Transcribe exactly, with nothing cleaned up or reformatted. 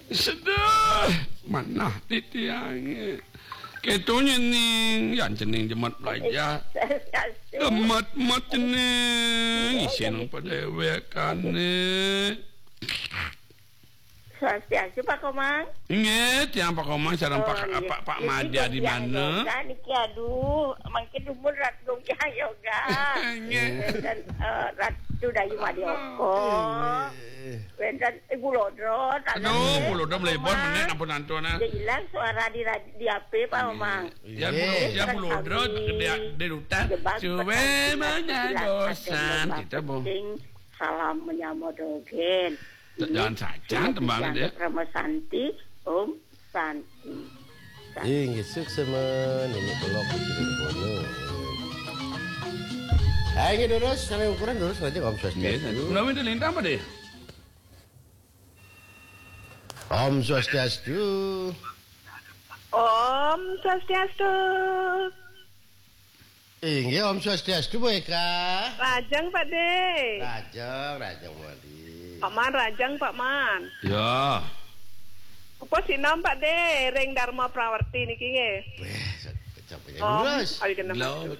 Sedih. Manah titiangé. Kéto nyening, yan cening jemet belajar. Swastiastu. Jemet-jemet cening, isin padéwékané. Swastiastu, Pak Komang. Inggih, tiang Pak Komang sareng Pak, Pak, Pak Madya di mana? Yoga niki, aduh, mangkin dumun Ratu Gongkyang Yoga. Inggih. Wénten, eh, Ratu Dayu Madioko. Inggih. Wénten Ibu Lodro, aduh, Ibu Lodro mlebon meneh ampun antun, ah. Dia hilang suara di rad-, di H P, Pak Komang. Inggih. Ya, Bu, ya, Bu Lodro, di, di rutan. Suwe menyadosan, gitu, Bu. Salam menyambut dogén. Jangan saja tembang dia. Rama Santi, Om Santi. Inggih, suksma, Nini Belok, Nini Bono. Ah, inggih, durus, sampai ukuran durus aja, Om Swastiastu. Nggih, menawi lintang apa deh? Om Swastiastu. Om Swastiastu. Inggih, Om Swastiastu, Bu Eka. Rajeng, Pak De. Rajeng, rajeng, Mali. Pak Man, rajeng, Pak Man. Ya. Upos sinom, Pak De, ring Dharma Prawerti niki nggih. Wéh, sampeyan Om, lurus. Awi genep. Lho.